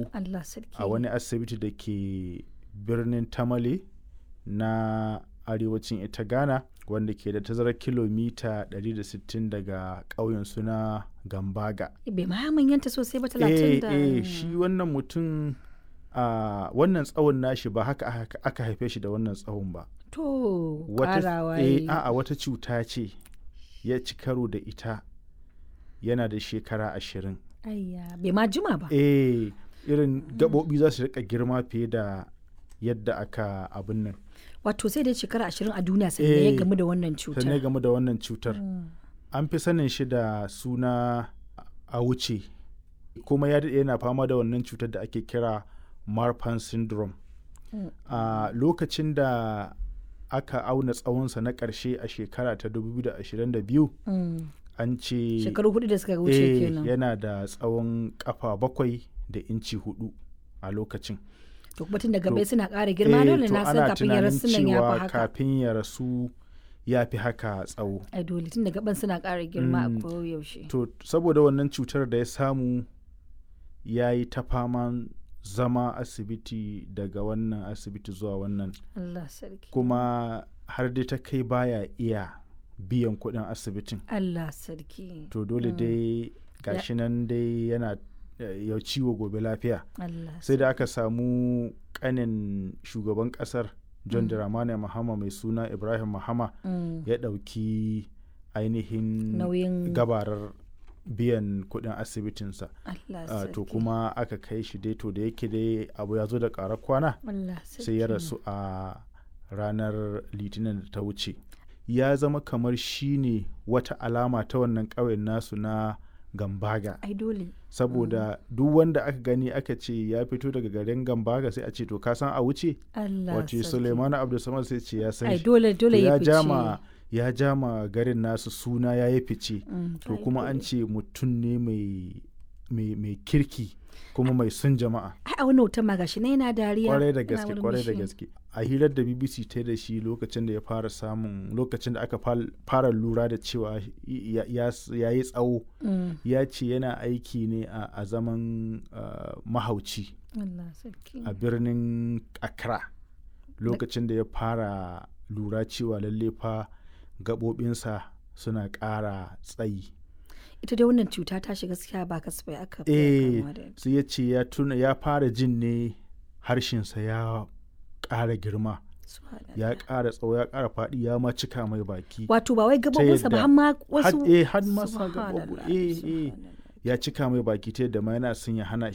tsawo. Allah sarki. A wani asibiti da ke birnin Tamale na arewacin ita Ghana, wanda ke da tazarar kilomita 160 daga ƙauyen suna Gambaga. Bai ma manyanta sosai ba, 30 da. Eh, shi wannan mutum a wannan tsawon nashi ba haka aka haife shi da wannan tsawon ba. To, wata karawa eh yayi. A'a, wata cuta ce ya ci karo da ita yana da shekara 20. Ayya, bai ma jima ba. Eh, irin gaɓoɓi za su rika girma fiye da yadda aka abin nan. Wato sai dai shekara 20 a duniya sannan ya gamu da wannan cutar. Sannan ya gamu da wannan cutar. An fi sanin shi da suna a wuce, kuma ya daɗe yana fama da wannan cutar da ake kira Marfan syndrome. A lokacin da aka auna tsawonsa na ƙarshe a shekara ta 2022, an ce Shekaru 4 da suka wuce kenan. Yana da tsawon kafa 7 da inci 4 a lokacin. To kuma tun daga bai suna ƙara girma, dole To na san ana kafin ya tunanin rasu nan ya fi cewa haka. kafin ya rasu ya fi haka tsawo. Ai dole, tun daga ban suna ƙara girma a koyaushe. To saboda wannan cutar da ya samu, ya yi ta faman zama asibiti, daga wannan asibiti zuwa wannan. Allah sarki. Kuma har dai ta kai baya iya biyan kuɗin asibitin. Allah sarki. To dole dai gashi nan dai yana ya ciwo gobe lafiya. Allah. Sai da aka samu kanin shugaban kasar John Dramani Mahama mai suna Ibrahim Mahama ya ɗauki ainihin Nauyin gabarar biyan kuɗin asibitinsa. Allah To sarki. kuma aka kai shi dai, to da yake dai abu ya zo da ƙarar kwana, Allah sarki. sai ya rasu a ranar Litinin da ta wuce. Ya zama kamar shi ne wata alama ta wannan ƙauyen nasu na Gambaga, Ai dole. saboda duk wanda aka gani aka ce ya fito daga garin Gambaga, sai a ce, "To ka san a wuce?" Allah Wace sarki. Suleimanu Abdulsamad, sai ce ya san Ai shi. dole, To dole ya ya fice. jama ya jama garin nasu suna, ya yi fice. To Ai kuma an dole. ce mutum ne mai kirki kuma mai son jama'a. Ai a wannan hoton ma gashi na yana dariya. Kwarai da yana gaske, kwarai da murmushi. gaske. A hirar da BBC ta yi da shi lokacin da ya fara samun, lokacin da aka fara lura da cewa ya yi tsawo, ya ce yana aiki ne a zaman mahauci Allah sarki. a birnin Accra lokacin da ya fara lura cewa lalle fa gaɓoɓinsa suna ƙara tsayi. Ita dai wannan cuta ta shiga gaskiya ba kasafai aka fiye kamuwa da ita. Sai ya ce ya tuna ya fara jin ne harshensa ya ƙara girma, Subhanallah. ya ƙara tsawo, ya ƙara faɗi, ya ma cika mai baki. Wato ba wai gabobinsa ba, yadda har ma wasu. Har ma sa gaɓoɓi Subhanallah, eh. subhanallah. Ya cika mai baki ta yadda ma yana son ya hana shi